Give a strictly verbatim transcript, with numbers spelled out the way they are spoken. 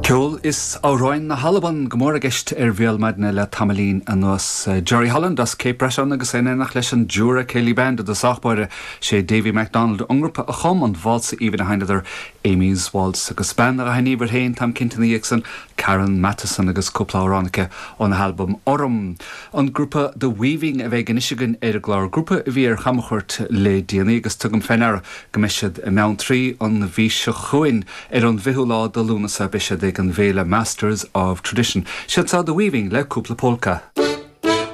Ceol is amhráin na hAlban go mór i gceist ar Bhéal Maidine le tamaillín anuas Jerry Holland as Cape Breton agus in éineacht leis an Jura Ceilidh Band i dtosach báire sé Davy MacDonald ón ngrúpa a chum an válsa aoibhinn a sheinneadar Amy's Waltz agus bean a thaitníonn féin táim cinnte ansan Karen Matheson agus cúpla amhrán aici óna halbam Orm. An grúpa The Weaving a bheidh anois againn ar an gclár grúpa a bhí ar chamchuairt le déanaí agus tugaim faoi ndeara go mbeidh siad i mBeanntraí an mhí seo chugainn ar an bhfichiú lá de Lúnasa beidh siad ag an bhféile Masters of Tradition. Siad seo The Weaving le cúpla polca.